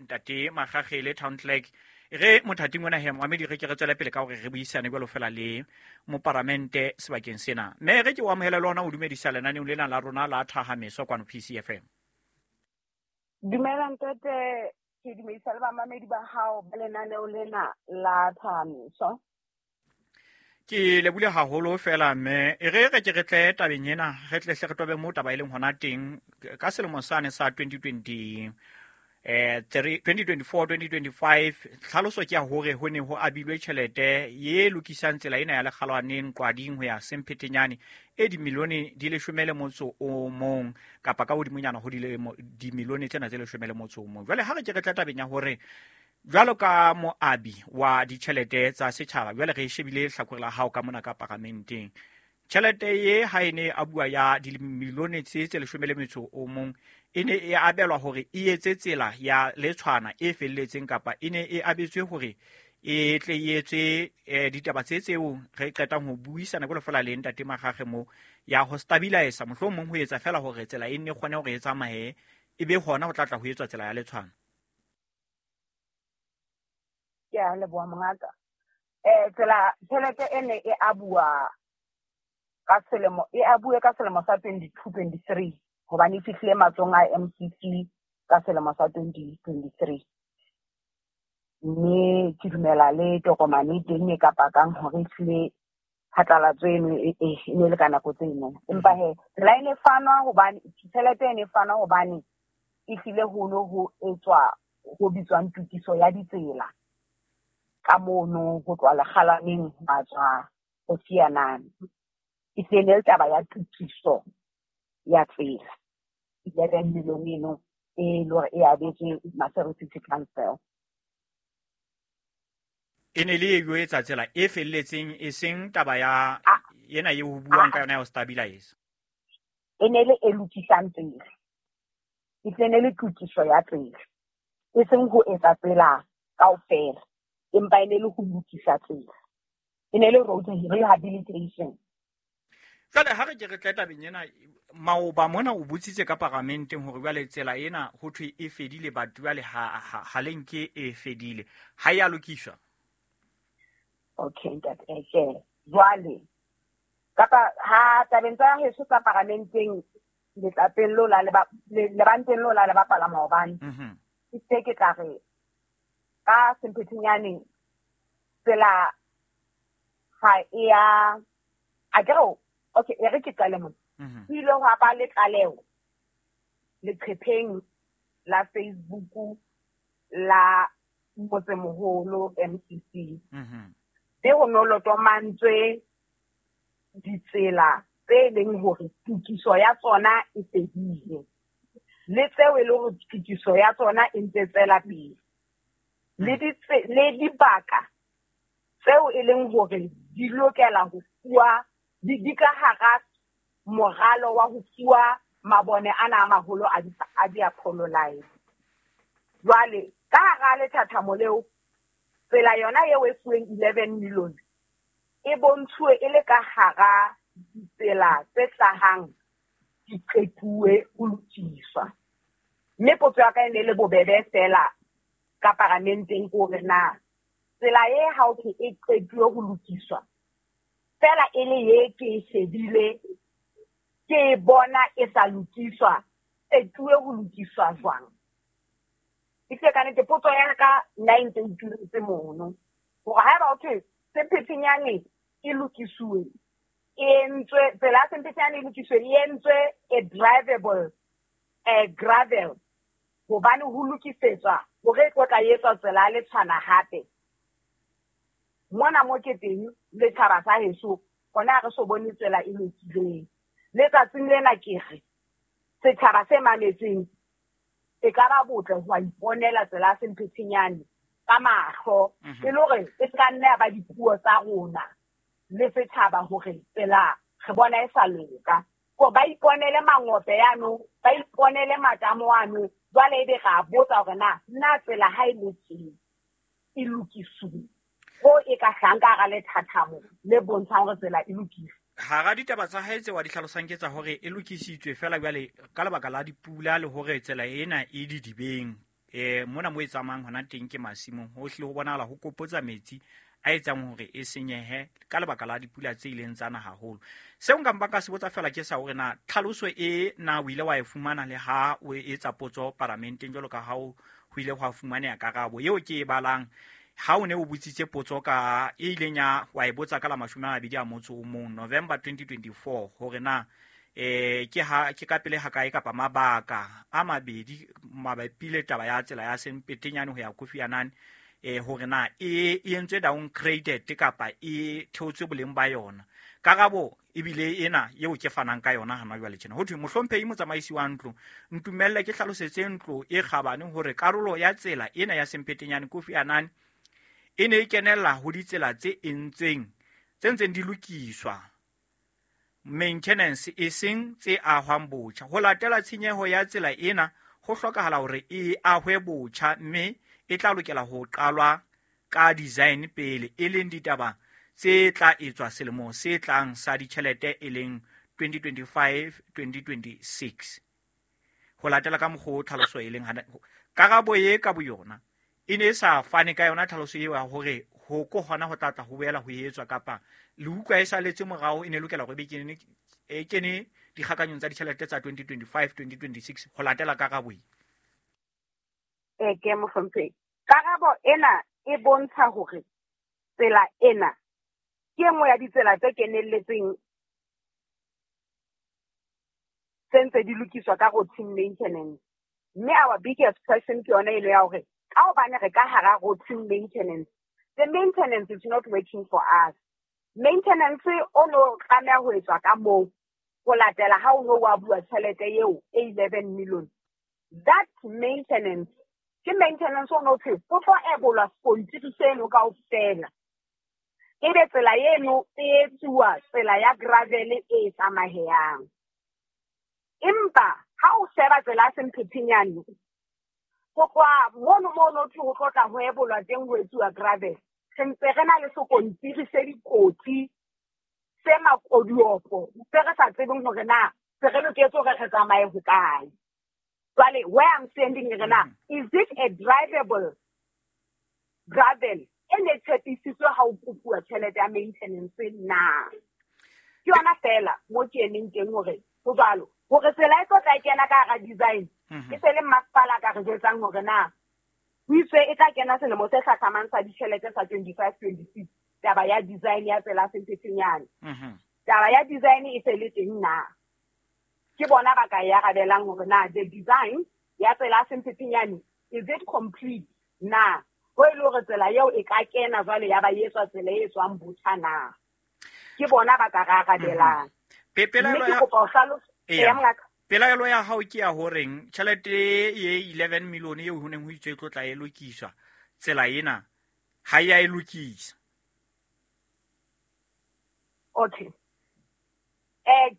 [SPEAKER 1] ntate Makgakgele town clerk. Re mothating ona he Mamedi, re ke re tswele pele ka hore re buisane jwalo fela le moparamente sebakeng sena. Mme re ke o amohele le hona o dumedisa lenaneong lena la rona la Thahameso kwano PCFM.
[SPEAKER 10] Dumela ntate, ke dumedisa le bamamedi ba hao ba lenaneo lena la Thahameso.
[SPEAKER 1] Ke lebule haholo fela mme e re re ke re tle tabeng ena, re tle hle re tobe moo taba e leng hona teng ka selemo sane sa 2020 2024 2025. Tlhaloso ke ya hore ho ne ho abilwe tjhelete ye lokisang tsela ena ya Lekgalwaneng Qwading ho ya Semphetenyane e dimilione di 11 kapa ka hodimonyana ho dimilione tsena tse 11. Jwale ha re ke re tla tabeng ya hore jwalo ka moabi wa ditjhelete tsa setjhaba, jwale re shebile hlakore la hao ka mona ka paramenteng, tjhelete ye ha e ne a bua ya dimilione tse 11 e ne e abelwa hore e etse tsela ya Letshwana e felletseng, kapa e ne e abetswe hore e tle e etse ditaba tse tseo re qetang ho buisana jwalo fela le ntate Makgakge mo ya ho stabilize, mohlomong ho etsa fela hore tsela e nne kgone hore e tsamaye, e be hona ho tla tla ho etswa tsela ya Letshwana.
[SPEAKER 10] Ke a leboha mongaka. Tsela tjhelete e ne e abuwa ka selemo, e abuwe ka selemo sa 22-23, hobane e fihlile matsohong a MCC ka selemo sa 2023. Mme ke dumela le tokomane e teng e ka pakang hore e hlile phatlalatso eno e ne le ka nako tseno. Empa he tsela e ne fanwa hobane tjhelete e ne fanwa hobane e hlile ho no ho etswa ho bitswang tokiso ya ditsela ka mono ho tloha Lekgalwaneng ba tswa ho Sianane. E hlile ne le taba ya tokiso ya tsela 11 million eno e le hore e abetswe Maseru City Council.
[SPEAKER 1] E ne le e etsa tsela e felletseng, e seng taba ya ena eo ho buang ka yona ya ho stabilize.
[SPEAKER 10] E ne le e lokisang tsela, e tle ne le tokiso ya tsela, e seng ho etsa tsela kaofela, empa e ne le ho lokisa tsela, e ne le road rehabilitation.
[SPEAKER 1] Jwale ha re ke re tle tabeng ena, maoba mona o botsitse ka paramenteng hore jwale tsela ena ho thwe e fedile, batho jwale ha le nke e fedile, ha ya lokiswa.
[SPEAKER 10] Okay, ntate. Jwale kapa ha tabeng tsa heso tsa paramenteng letlapeng lo la lebanteng lo la le bapala maobane, ke se ke tla re ka Semphetenyane tsela ha e ya a ke re okay, e re ke qale mona. Ho ile hwa ba le tlaleho leqepheng la Facebook la motsemoholo MCC. Mme ho no lotomantswe ditsela tse leng hore tokiso ya tsona e fedile, le tseo e leng hore tokiso ya tsona e ntse tswela pele, le dibaka tseo e leng hore di lokela ho fuwa di ka hara moralo wa ho fuwa mabone ana a maholo a di-Apollo line. Jwale ka hara lethathamo leo, tsela yona eo e fuweng 11 million e bontshuwe e le ka hara ditsela tse hlahang di qetuwe ho lokiswa. Mme potso ya ka e ne le bobebe fela ka paramenteng ke hore na tsela e ha ho thwe e qetuwe ho lokiswa fela e le ye ke e shebile ke e bona e sa lokiswa, qetuwe ho lokiswa jwang? E hlile ka nnete potso ya ka nna e ntse e ituletse mono hore haeba ho thwe Semphetenyane e lokisuwe, e entswe tsela ya Semphetenyane e lokiswe, e entswe e drivable gravel, hobane ho lokisetswa hore e tlo tla etswa tsela ya Letshwana hape. Mona mo ke teng letjhaba sa heso hona re so bone tsela e lokileng. Letsatsing lena ke re setjhaba se mametseng e ka ba botle ho iponela tsela ya Semphetenyane ka mahlo, e le hore e ska nna ya ba dipuo tsa rona le setjhaba hore tsela re bona e sa loka. Ko ba iponele mangope yano, ba iponele matamo ano, jwale ebe ra botsa hore na tsela ha e lokile e lokisuwe ho e ka hlanga hara lethathamo le bontshang hore tsela e lokile.
[SPEAKER 1] Hara ditaba tsa hae tse wa di hlalosang ke tsa hore e lokisitswe fela jwale ka lebaka la dipula le hore tsela ena e didibeng. Mona mo e tsamayang hona teng ke masimong, ho hlile ho bonahala ho kopotsa metsi a etsang hore e senyehe ka lebaka la dipula tse ileng tsa na haholo. Seo nka mpa ka se botsa fela ke sa hore na tlhaloso e na o ile wa e fumana le ha o etsa potso paramenteng jwalo ka ha ho ile hwa fumaneha karabo eo ke e balang. Ha o ne o botsitse potso ka e ileng ya wa e botsa ka la 21 November 2024 hore na ke ka pele ha kae kapa mabaka a mabedi mabapi le taba ya tsela ya Sempetenyane ho ya Kofi Annan, hore na e entswe downgraded kapa e theotswe boleng ba yona. Karabo ebile ena eo ke fanang ka yona hana jwale tjena. Ho thwe mohlomphehi motsamaisi wa ntlo, ntumelle ke hlalosetse ntlo e kgabane hore karolo ya tsela ena ya Sempetenyane Kofi Annan e ne e kenella ho ditsela tse entsweng tse ntseng di lokiswa maintenance e seng tse ahwang botjha. Ho latela tshenyeho ya tsela ena ho hlokahala hore e ahwe botjha mme e tla lokela ho qalwa ka design pele, e leng ditaba tse tla etswa selemo se tlang sa ditjhelete e leng 2025-2026. Ho latela ka mokgwa o tlhaloso e leng hana karabo e ka boyona e ne e sa fane ka yona tlhaloso eo ya hore ho ko hona ho tla tla ho boela ho etswa kapa le utlwa e saletse morao e ne lokela hore be e kene dikgakanyong tsa ditjhelete tsa 2025-2026 ho latela karabo e.
[SPEAKER 10] Ke mohlomphehi, karabo ena e bontsha hore tsela ena ke nngwe ya ditsela tse kenelletseng tse ntse di lokiswa ka routine maintenance. Mme our biggest question ke yona eno ya hore ka hobane re ka hara routine maintenance, the maintenance is not working for us. Maintenance o no tlameha ho etswa ka moo ho latela ha o no wa bua tjhelete eo e 11 million. That maintenance ke maintenance o no thwe ho tlo ebolwa sekontiri seno kaofela. Ebe tsela eno e etsuwa tsela ya gravel e tsamayang. Empa ha o sheba tsela ya Sempetenyane ho tloha mono mono thwe ho tlo tla ho ebolwa teng ho etsuwa gravel, re ntse re na le sekontiri se dikotsi se makodiopo se re sa tsebeng hore na se re loketse hore re tsamaye hokae. Jwale where I'm standing re na, is it a drivable gravel e ne tshepisitswe ha o kopuwa tjhelete ya maintenance na? Ke yona fela mo ke emeng teng hore ho jwalo hore tsela e tlo tla kena ka hara design e se le masepala ka re jwetsang hore na ho itswe e tla kena selemo se hlahlamang sa ditjhelete sa 25-26 taba ya design ya tsela Sempetenyane. Taba ya design e se le teng na? Ke bona ba ka e arabelang hore na the design ya tsela Sempetenyane is it complete na? Ho e le hore tsela eo e ka kena jwale ya ba etswa tsela e tswang botjha na? Ke bona ba ka re arabelang.
[SPEAKER 1] Pelaelo ya hao ke ya horeng tjhelete e 11 million eo ho neng ho itswe e tlo tla e lokiswa tsela ena ha ya e lokisa.
[SPEAKER 10] Okay.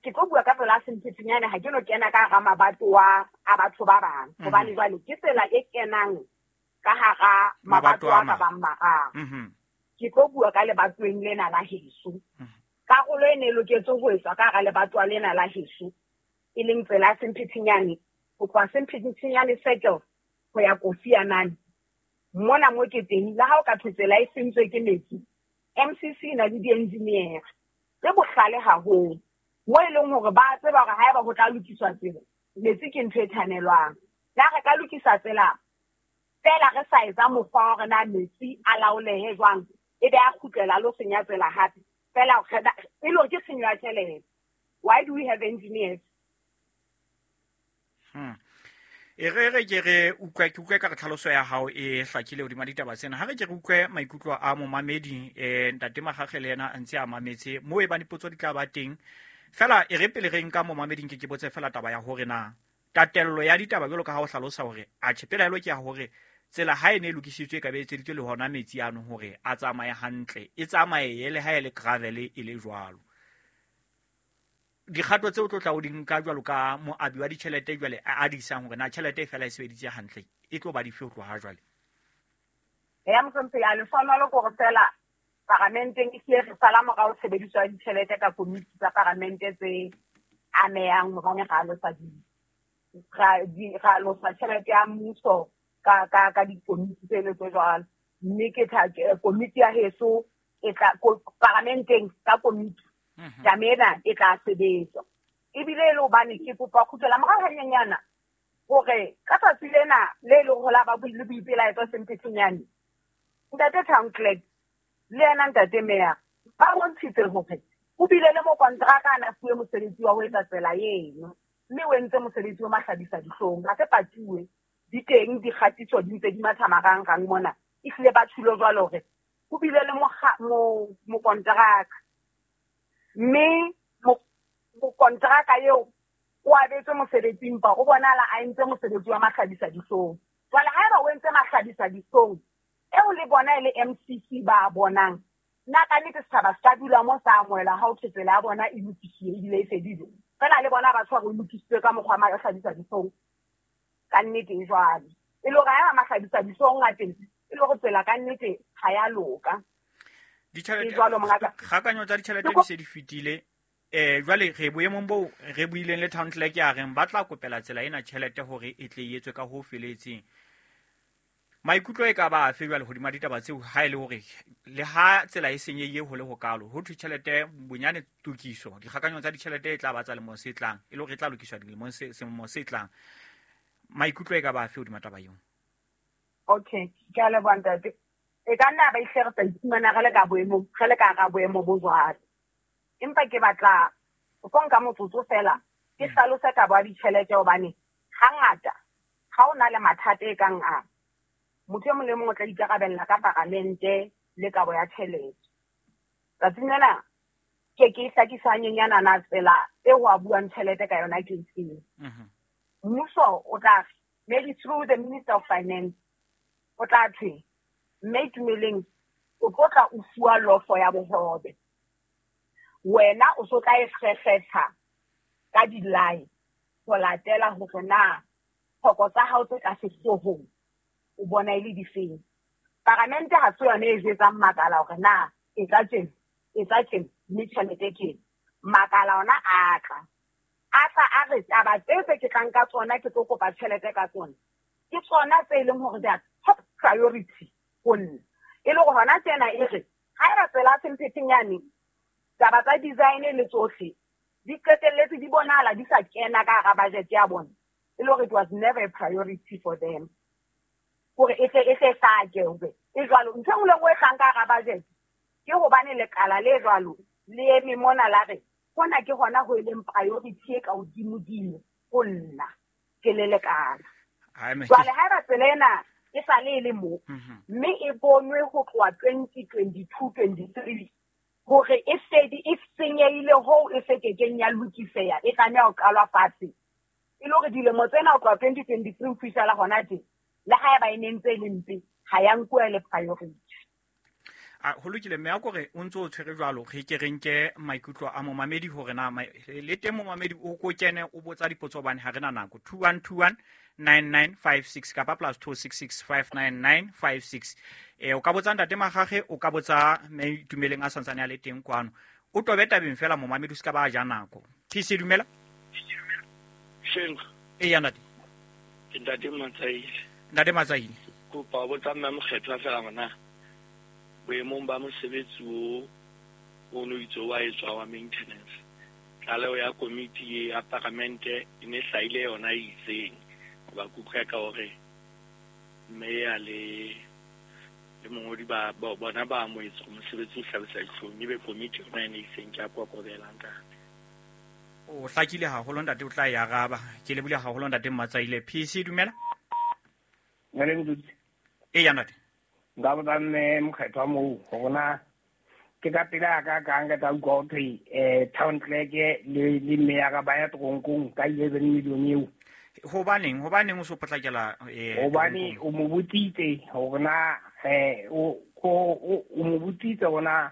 [SPEAKER 10] Ke tlo bua ka tsela ya Sempetenyane, ha ke no kena ka hara mabatowa a batho ba bang hobane jwale ke tsela e kenang ka hara mabatowa a bang mararo. Ke tlo bua ka lebatoweng lena la heso. Karolo e ne loketse ho etswa ka hara lebatowa lena la heso e leng tsela ya Sempetenyane ho tloha Sempetenyane Circle ho ya Kofi Annan. Mona mo ke teng le ha o ka thwe tsela e sentswe ke metsi, MCC e na le di-engineer tse bohlale haholo mo e leng hore ba tseba hore haeba ho tla lokiswa tsela, metsi ke ntho e thanelwang. Na re ka lokisa tsela fela re sa etsa mokgwa wa hore na metsi a laolehe jwang, ebe a kgutlela lo senya tsela hape fela e le hore ke tshenyo ya tjhelete. Why do we have engineers?
[SPEAKER 1] E re ke re utlwe ke utlwe ka re tlhaloso ya hao e hlakile hodima ditaba tsena. Ha re ke re utlwe maikutlo a momamedi, ntate Magage le yena a ntse a mametse mo e bane potso di tla ba teng. Fela e re pele re nka momameding ke botse fela taba ya hore na tatello ya ditaba jwalo ka ha o hlalosa hore atjhe pelaelo ke ya hore tsela ha e ne e lokisitswe e ka be e etseditswe le hona metsi ano hore a tsamaye hantle, e tsamaye le ha e le gravel e le jwalo. Dikgato tseo tlo tla o di nka jwalo ka moabi wa ditjhelete jwale a di isang hore na tjhelete e fela e sebeditse hantle e tlo ba dife ho tloha jwale?
[SPEAKER 10] Ya mohlomphehi, a lehlohonolo ke hore fela paramenteng e hlile re sala morao tshebediso ya ditjhelete ka komiti tsa paramente tse amehang hobane ra losa ra losa tjhelete ya mmuso ka dikomiti tseno tse jwalo. Mme ke komiti ya heso e tla paramenteng ka komiti taba ena e tla sebetswa. Ebile e le hobane ke kopa kgutlela morao hanyenyana hore ka tsatsi lena le leng ho la ba le boipelaetso Sempetenyane Ntate town clerk le yena ntate mayor ba bontshitse hore o bile le mokontraka a na fuwe mosebetsi wa ho etsa tsela eno, mme o entse mosebetsi o mahlabisa dihlong. Ha se patuwe, di teng dikgatiso di ntse di matha marangrang mona, ehlile ba tjhulo jwalo hore ho bile le mokontraka, mme mokontraka eo o abetswe mosebetsi empa o bonahala a entse mosebetsi wa mahlabisa dihlong. Jwale haeba o entse mahlabisa dihlong eo le bona e le MCC ba bonang, nna ka nnete setjhaba se ka dula mo sa amohela ha ho thwe tsela ya bona e lokisiwe ebile e fedile. Feela le bona ba tshware o lokisitswe ka mokgwa wa mahlabisa dihlong. Ka nnete e jwalo. E le hore haeba mahlabisa dihlong a teng, e le hore tsela ka nnete ha ya loka.
[SPEAKER 1] Ditjhelete,
[SPEAKER 10] E jwalo, mongaka.
[SPEAKER 1] kgakanyo tsa ditjhelete di se di fetile. Jwale re boemong boo re buileng le town clerk ya reng ba tla kopela tsela ena tjhelete hore e tle e etswe ka ho feletseng. Maikutlo e ka ba afe jwale hodima ditaba tseo, ha e le hore le ha tsela e senyehile ho le hokalo, ho thwe tjhelete bonyane tokiso, dikgakanyong tsa ditjhelete e tla ba tsa lemong se tlang, e le hore e tla lokiswa dilemong se, selemo se tlang. Maikutlo e ka ba afe hodima taba eo?
[SPEAKER 10] Okay, ke a leboha ntate. E ka nna ba ihle re sa iphumana re le ka boemong, re le ka hara boemo bo jwalo. Empa ke batla ho tlo nka motsotso fela ke hlalose taba ya ditjhelete, hobane hangata ha o na le mathata e kang a, motho e mong le mong o tla ikarabella ka paramente le kabo ya tjhelete. Tsatsing lena ke ke hlakisa hanyenyana na tsela e ho a buang tjhelete ka yona ke efeng. Mmuso o tla re, maybe through the Minister of Finance, o tla thwe, mme Itumeleng o tlo tla o fuwa lofo ya bohobe. Wena o so tla e kgekgetha ka di-line ho latela hore na tlhoko tsa hao tse ka sehloohong o bona e le difeng. Paramente ha se yona e jwetsang makala hore na e tla tjena, e tla tjena, mme tjhelete ke ena. Makala ona a tla. A tla a re taba tse tse ke tlang ka tsona, ke tlo kopa tjhelete ka tsona, ke tsona tse e leng hore they are top priority ho nna. E le hore hona tjena e re, haeba tsela ya Semphetheng yane, taba tsa design le tsohle di qetelletse di bonahala di sa kena ka hara budget ya bona, e le hore it was never a priority for them hore e tle e tle hlake hore e jwalo. Ntho e nngwe le nngwe e tlang ka hara budget ke hobane lekala le jwalo le eme mona la re hona ke hona ho e leng priority e ka hodimodimo ho nna ke le lekala. Jwale haeba tsela ena e sa le e le mo, mme e bonwe ho tloha 2022-23 hore e fedi e senyehile hoo e se kekeng ya lokiseha, e tlameha ho qalwa fatshe. E le hore dilemo tsena ho tloha 2023 ho fihlela hona tje, le haeba e ne ntse e le mpe, ha ya nkuwa e le priority.
[SPEAKER 1] Ho lokile, mme a kore o ntse o tshwere jwalo, re ke re nke maikutlo a momamedi hore na le teng momamedi o ko kene o botsa dipotso hobane ha re na nako. 2121 9956 kapa +266 59956. O ka botsa ntate Magage, o ka botsa mme Itumeleng a santsane a le teng kwano. O tobe tabeng fela momamedi, o se ka ba ja nako. PC, dumela.
[SPEAKER 11] Sheng.
[SPEAKER 1] Eya, ntate.
[SPEAKER 11] Ke ntate Matsaile.
[SPEAKER 1] Ntate Matsaile.
[SPEAKER 11] Kopa ho botsa mme Mokgethwa fela hore boemong ba mosebetsi o o no itse wa etswa wa maintenance, tlaleho ya komiti ya paramente e ne hlahile yona e itseng, hoba ke utlwa ka hore mme ya le le mongodi ba bona ba amohetse hore mosebetsi o hlabisa dihlong, ebe komiti yona e ne itseng. Ke a kokobela, ntate.
[SPEAKER 1] O hlakile haholo ntate, o tla e araba. Ke lebohile haholo ntate Matsaile. PC, dumela. Eya, ntate.
[SPEAKER 12] Nka botsa mme Mokgethwa moo hore na ke ka pele a ka kang ka tla utlwa ho thwe town clerk le meyara ba ya toronkong ka 11 million eo.
[SPEAKER 1] Hobaneng o so potlakela
[SPEAKER 12] Hobane o mo botsitse hore na o mo botsitse hore na